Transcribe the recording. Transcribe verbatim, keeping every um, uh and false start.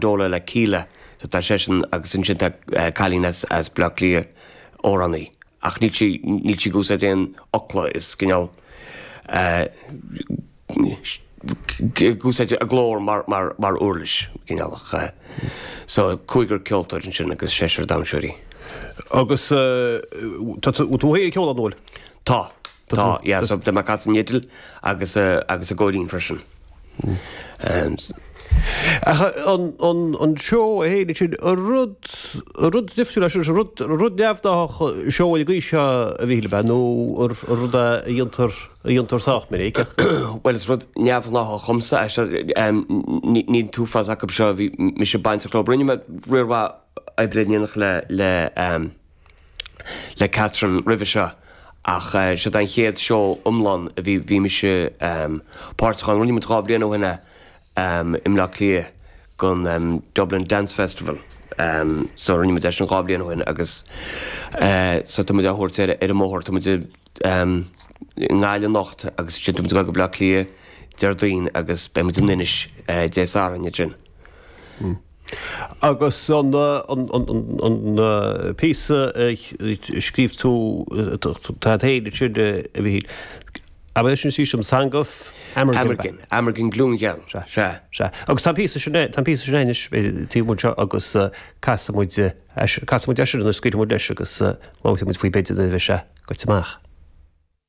Amendola le Kíla, so tá seisean agus ansin tá cailín as as Bleá Cliath, amhránaí, ach níl sí níl sí ag úsáid aon fhocla, is cineál ag úsáid a glór mar mar mar uirlis, cineál ach so cúigear ceoltóir ansin agus seisear damhsóirí. Agus tá tú tú féin ag ceol ann, an bhfuil? Tá, tá, yeah, so tá mé ag casadh an fhidil agus agus an góirín freisin. Ach an an an seó é féin ansin, an rud an rud difriúil é sin, rud rud neamhghnách seó ar an gcaoi seo a Mhíchíl, ab ea, nó an rud é a dhéantar a dhéantar sách minic ach. Bhuel is rud neamhghnáthach dhomsa é seo, ní an t-uafás acu seo a bhí mise bainteach leo. Rinne mé riar mhaith oibre in éineacht le le le Catherine roimhe seo ach seo an chéad seó iomlán a bhí bhí mise páirteach ann. Rinne muid dhá bhliain ó shin é i mBleá Cliath don Dublin Dance Festival. So rinne muid é sin dhá bhliain ó shin agus so tá muid á thabhairt ar ar an mbóthar. Tá muid i nGaillimh anocht agus ansin tá muid ag dul go Bleá Cliath Déardaoin agus beidh muid in Inis Dé Sathairn ansin. Agus an an an an píosa a scríobh tú tú féin ansin a Mhíchíl, ab é sin sí sin Song of Amergin? Amergin, Amergin Glúngheal, Sea. sea. Sea. Agus tá an píosa sin, tá an píosa sin anois taobh amuigh anseo agus casfaidh muid, casfaidh muid é sin anois, scaoilfidh muid leis agus labharfaidh muid faoi b'fhéidir nuair a bheidh sé goite amach.